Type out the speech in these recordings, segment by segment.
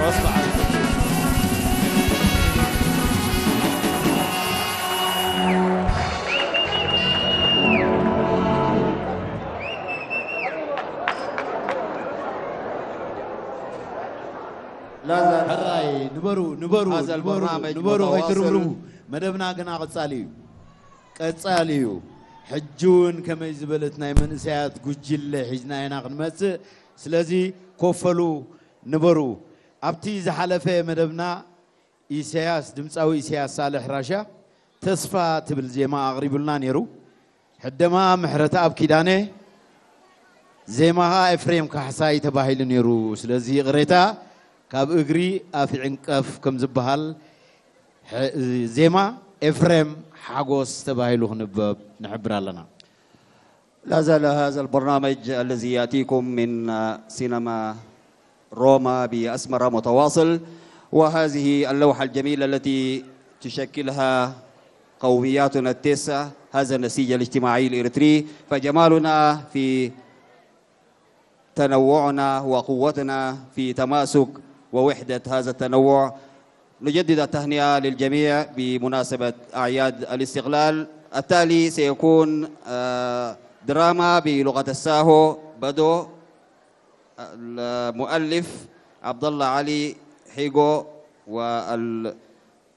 ሮስ በዓል። لا زال ሕራይ ንበሩ ንበሩ هذا ንበሩ البرنامج ንበሩ متواصل. ከይትርብርቡ። መደብና ግና ቀጻሊ እዩ። ቀጻሊ እዩ። ሕጂ እውን ከመይ ዝበለት ናይ መንእሰያት ጉጅለ ሒዝና ኢና ክንመጽእ። ስለዚ ኮፈሉ ንበሩ። ኣብቲ ዝሓለፈ መደብና ኢሳያስ ድምፃዊ ኢሳያስ ሳልሕ ራሻ ተስፋ ትብል ዜማ ኣቕሪቡልና ነይሩ። ሕደማ ምሕረተኣብ ኪዳነ፣ ዜማኻ ኤፍሬም ካሕሳይ ተባሂሉ ነይሩ። ስለዚ ይቕሬታ ካብ እግሪ ኣፍ ይዕንቀፍ ከም ዝበሃል ዜማ ኤፍሬም ሓጎስ ተባሂሉ ክንበብ ንሕብር ኣለና። لا زال هذا البرنامج الذي يأتيكم من سينما روما بأسمرة متواصل، وهذه اللوحة الجميلة التي تشكلها قومياتنا التسع، هذا النسيج الاجتماعي الإريتري، فجمالنا في تنوعنا وقوتنا في تماسك ووحدة هذا التنوع. نجدد التهنئة للجميع بمناسبة أعياد الاستقلال. التالي سيكون آه، دراما بلغة الساهو بدو، المؤلف عبد الله علي حيغو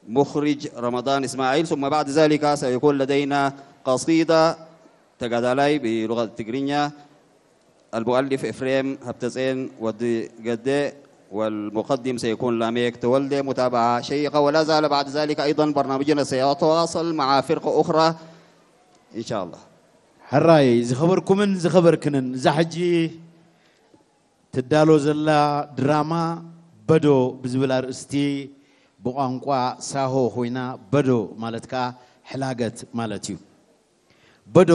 والمخرج رمضان إسماعيل، ثم بعد ذلك سيكون لدينا قصيدة تقادالاي بلغة التقرينيا، المؤلف إفريم هبتزين ودي قدي، والمقدم سيكون لاميك تولدي. متابعة شيقة، ولا زال بعد ذلك أيضا برنامجنا سيتواصل مع فرقة أخرى إن شاء الله. ሕራይ ዝኸበርኩምን ዝኸበርክንን፣ እዛ ሕጂ ትዳሎ ዘላ ድራማ በዶ ብዝብል ኣርእስቲ ብቋንቋ ሳሆ ኮይና፣ በዶ ማለት ከዓ ሕላገት ማለት እዩ። በዶ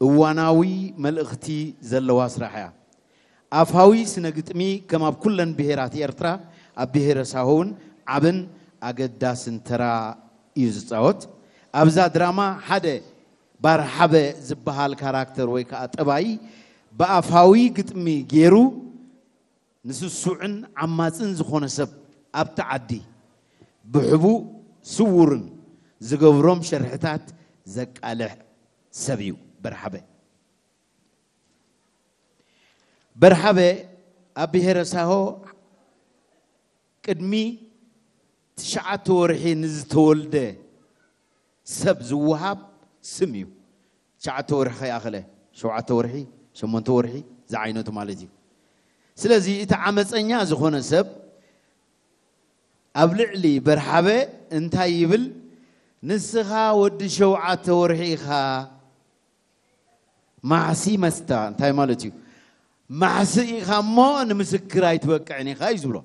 እዋናዊ መልእኽቲ ዘለዋ ስራሕ እያ። ኣፋዊ ስነ ግጥሚ ከም ኣብ ኩለን ብሄራት ኤርትራ ኣብ ብሄረ ሳሆ እውን ዓብን ኣገዳስን ተራ እዩ ዝፃወት። ኣብዛ ድራማ ሓደ ባርሓበ ዝበሃል ካራክተር ወይ ከዓ ጠባይ ብኣፋዊ ግጥሚ ገይሩ ንስሱዕን ዓማፅን ዝኾነ ሰብ ኣብቲ ዓዲ ብሕቡእ ስውርን ዝገብሮም ሸርሕታት ዘቃልሕ ሰብ እዩ በርሓበ። በርሓበ ኣብ ብሄረ ሳሆ ቅድሚ ትሽዓተ ወርሒ ንዝተወልደ ሰብ ዝወሃብ ስም እዩ። ትሽዓተ ወርሒ ከይኣኸለ፣ ሸውዓተ ወርሒ፣ ሸሞንተ ወርሒ ዝዓይነቱ ማለት እዩ። ስለዚ እቲ ዓመፀኛ ዝኾነ ሰብ ኣብ ልዕሊ በርሓበ እንታይ ይብል? ንስኻ ወዲ ሸውዓተ ወርሒ ኢኻ። ማሕሲ መስታ እንታይ ማለት እዩ? ማሕሲ ኢኻ እሞ ንምስክር ኣይትበቅዕን ኢኻ እዩ ዝብሎ።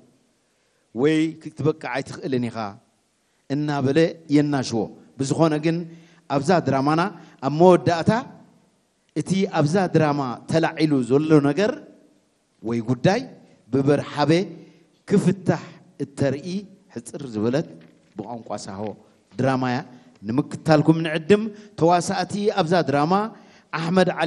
ወይ ክትበቅዕ ኣይትኽእልን ኢኻ እናበለ የናሽዎ። ብዝኾነ ግን ኣብዛ ድራማና ኣብ መወዳእታ እቲ ኣብዛ ድራማ ተላዒሉ ዘሎ ነገር ወይ ጉዳይ ብበርሓበ ክፍታሕ እተርኢ ሕፅር ዝበለት ብቋንቋ ሳሆ ድራማ እያ። ንምክታልኩም ንዕድም። ተዋሳእቲ ኣብዛ ድራማ ኣሕመድ ዓሊ